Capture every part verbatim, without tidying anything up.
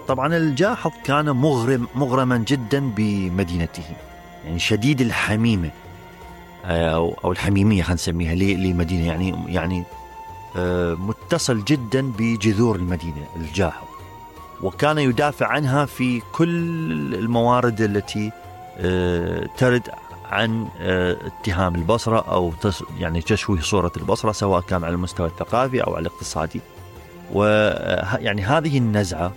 طبعا الجاحظ كان مغرم مغرما جدا بمدينته، يعني شديد الحميمة أو, أو الحميمية خلينا نسميها لمدينة، يعني يعني متصل جدا بجذور المدينة الجاحظ، وكان يدافع عنها في كل الموارد التي ترد عن اتهام البصرة أو يعني تشويه صورة البصرة، سواء كان على المستوى الثقافي أو على الاقتصادي. ويعني هذه النزعة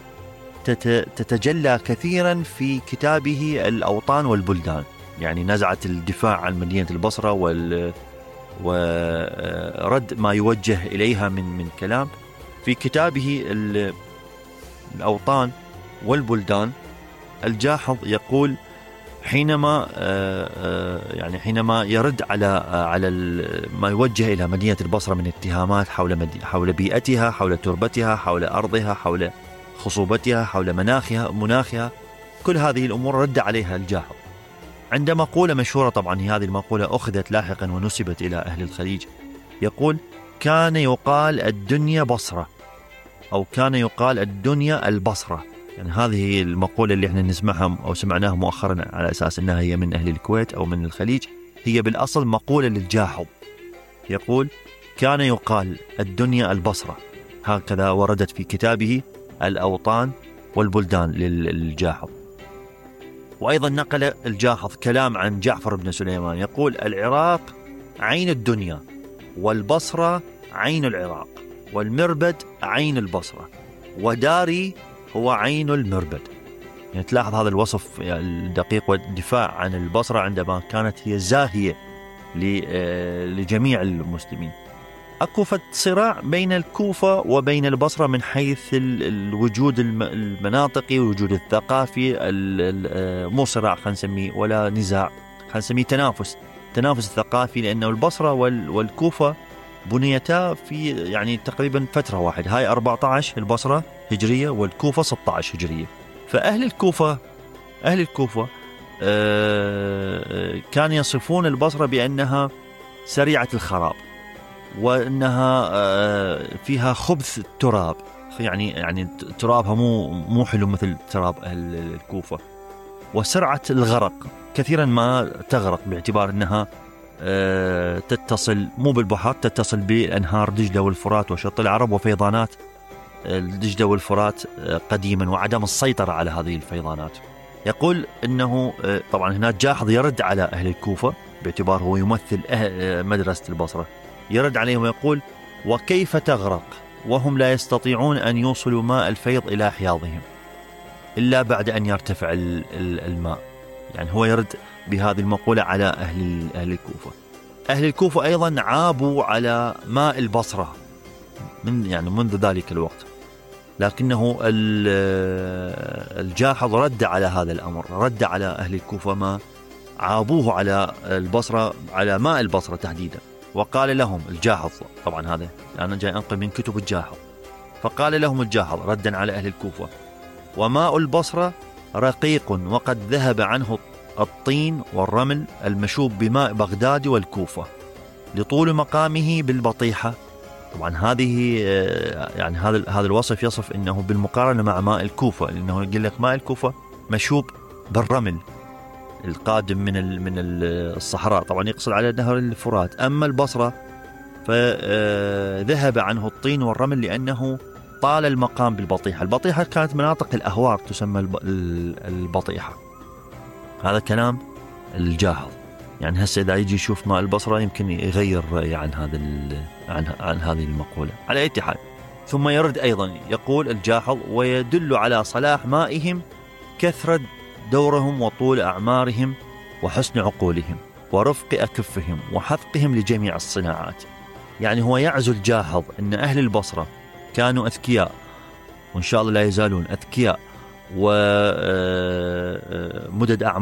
تتجلى كثيرا في كتابه الأوطان والبلدان، يعني نزعة الدفاع عن مدينة البصرة وال ورد ما يوجه إليها من من كلام. في كتابه الأوطان والبلدان الجاحظ يقول حينما يعني حينما يرد على على ما يوجه إلى مدينة البصرة من اتهامات حول حول بيئتها، حول تربتها، حول أرضها، حول خصوبتها، حول مناخها مناخها كل هذه الأمور رد عليها الجاحظ. عند مقولة مشهورة، طبعا هذه المقولة أخذت لاحقا ونسبت إلى أهل الخليج، يقول كان يقال الدنيا بصرة، أو كان يقال الدنيا البصرة. يعني هذه المقولة اللي احنا نسمعها أو سمعناها مؤخرا على أساس أنها هي من أهل الكويت أو من الخليج، هي بالأصل مقولة للجاحظ، يقول كان يقال الدنيا البصرة. هكذا وردت في كتابه الأوطان والبلدان للجاحظ. وأيضا نقل الجاحظ كلام عن جعفر بن سليمان، يقول العراق عين الدنيا، والبصرة عين العراق، والمربد عين البصرة، وداري هو عين المربد. يعني تلاحظ هذا الوصف الدقيق والدفاع عن البصرة عندما كانت هي زاهية لجميع المسلمين. أكو صراع بين الكوفة وبين البصرة من حيث الوجود المناطقي والوجود الثقافي، مو صراع خلينا نسميه ولا نزاع، خلينا نسميه تنافس تنافس الثقافي، لأنه البصرة والكوفة بنيتا في يعني تقريبا فترة واحدة، هاي أربعة عشر البصرة هجرية والكوفة ستة عشر هجرية. فأهل الكوفة أهل الكوفة كان يصفون البصرة بأنها سريعة الخراب، وأنها فيها خبث التراب، يعني يعني ترابها مو مو حلو مثل تراب أهل الكوفة، وسرعة الغرق، كثيرا ما تغرق باعتبار أنها تتصل مو بالبحر، تتصل بأنهار دجلة والفرات وشط العرب وفيضانات دجلة والفرات قديما، وعدم السيطرة على هذه الفيضانات. يقول أنه طبعا هنا جاحظ يرد على أهل الكوفة باعتبار هو يمثل مدرسة البصرة، يرد عليهم ويقول وكيف تغرق وهم لا يستطيعون أن يوصلوا ماء الفيض إلى حياضهم إلا بعد أن يرتفع الماء. يعني هو يرد بهذه المقولة على أهل أهل الكوفة. أهل الكوفة أيضا عابوا على ماء البصرة من يعني منذ ذلك الوقت، لكنه الجاحظ رد على هذا الأمر، رد على أهل الكوفة ما عابوه على البصرة، على ماء البصرة تحديدا، وقال لهم الجاحظ، طبعا هذا أنا جاي أنقل من كتب الجاحظ، فقال لهم الجاحظ ردا على أهل الكوفة وماء البصرة رقيق وقد ذهب عنه الطين والرمل المشوب بماء بغداد والكوفة لطول مقامه بالبطيحة. طبعا هذه يعني هذا هذا الوصف يصف انه بالمقارنه مع ماء الكوفه، لانه يقول لك ماء الكوفه مشوب بالرمل القادم من من الصحراء، طبعا يقصد على نهر الفرات. اما البصره فذهب عنه الطين والرمل لانه طال المقام بالبطيحه. البطيحه كانت مناطق الاهوار تسمى البطيحه. هذا كلام الجاحظ. يعني هسه إذا يجي يشوف ماء البصرة يمكن يغير رأيه عن هذا عن عن هذه المقولة. على أي حال، ثم يرد أيضا يقول الجاحظ ويدل على صلاح مائهم كثرة دورهم وطول أعمارهم وحسن عقولهم ورفق أكفهم وحثقهم لجميع الصناعات. يعني هو يعزو الجاحظ أن أهل البصرة كانوا أذكياء، وإن شاء الله لا يزالون أذكياء ومدد أعمار